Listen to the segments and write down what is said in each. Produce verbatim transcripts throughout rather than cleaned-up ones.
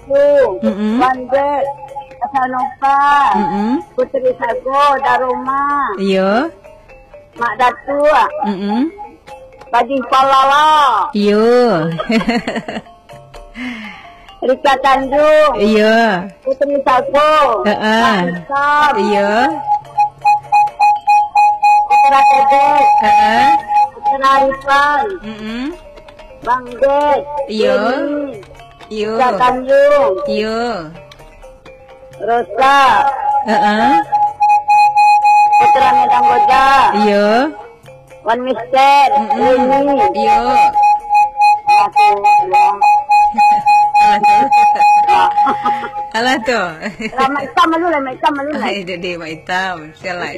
Assalamualaikum. Mm-mm. Wan Bek, Hasanova, Mm-mm. Putri Sago, Daroma, Iyo. Mak Datuk, Mm-mm. Bajih Palala, Iyo. Rika Tanjung, Iyo. Putri Sago, Heeh. Mak Isam, Iyo. Putra Tedek, Heeh. Putra Arifan, Mm-mm. Bang Jack, Iyo. Denny, Iyo. Kak Tanjung, Iyo. Rosa, Heeh. Putra Medan Goja, Iyo. Wan Mister, Mm-mm. Leni. Iyo. Alah tu. Alah tu. Alah tu. Lah, Mak Itam malu lah, Mak Itam malu lah. Ai, dek, dek, Mak Itam. Sialan.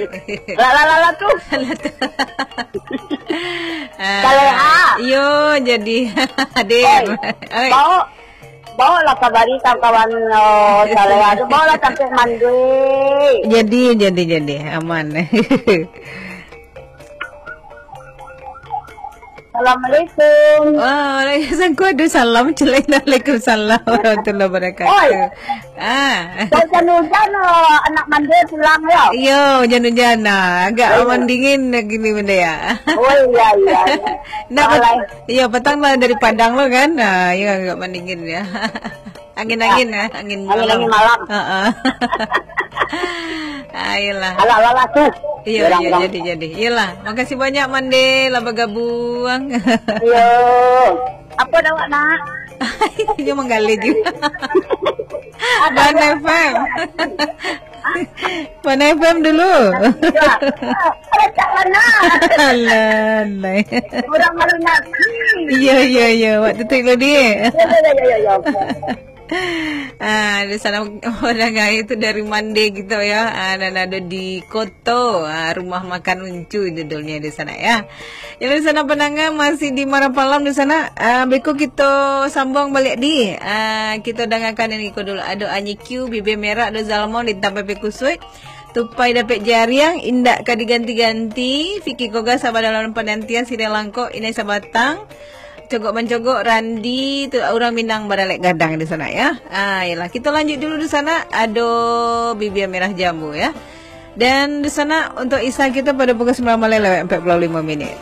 Lah, lah, lah, lah tu. Alah tu. Ah, Saleha. Iyo, jadi hadir. Oi, Oi. bawa, bawa lah kabari kawan-kawan, oh, Saleha tu. Bawa lah sampai mandi. Jadi, jadi, jadi. Aman. Assalamualaikum. Waalaikumsalam. Aduh, salam. Assalamualaikum salam warahmatullahi wabarakatuh. Oi. Ah. Kau hujan-hujan, oh, anak mandi pulang, yo? Iyo, hujan-hujan. Nah, agak Iyo. aman dingin gini benda ya. Oh, iya, iya, iya. Nak Alai. pet-, iyo, petang lah dari Padang lo kan. Nah, iyo agak aman dingin ya. Angin-angin ya, angin Angin-angin malam. malam. Heeh. Ayolah. Alah, alah, alah, tu. Iyo, Orang iyo, orang. jadi, jadi. Iyolah. Makasih banyak, Mande, lah bergabung. Iyo. Apa dah awak nak? Dia menggali juga. Ada Mana awak. F M? Mana F M dulu? Ada tak mana? Alah, alah. Orang malu nak. Iya, iya, iya. Awak tutup dulu, Dik. Ya, ya, ya, ya, ya. Ah, di sana orang kaya itu dari Mande gitu ya. Ah, dan ada di Koto, ah, rumah makan Uncu judulnya di sana ya. Jadi di sana pendengar masih di Marapalam di sana. Ah, beko kita sambung balik di. Ah, kita dengarkan yang iko dulu. Ada Anyi Q, Bibir Merah, ada Zalmon di Tampai Pekusuit. Tupai dapek jariang, indak ka diganti-ganti. Fiki Koga sabar dalam penantian, Siriah Langkok, Inai Sabatang. Cogok mancogok, Randi, tu urang Minang baralek gadang di sana, ya. Ah, yalah, kita lanjut dulu di sana. Ado Bibia Merah Jambu, ya. Dan di sana untuk Isa kita pada pukul sembilan malam lewat empat puluh lima minit.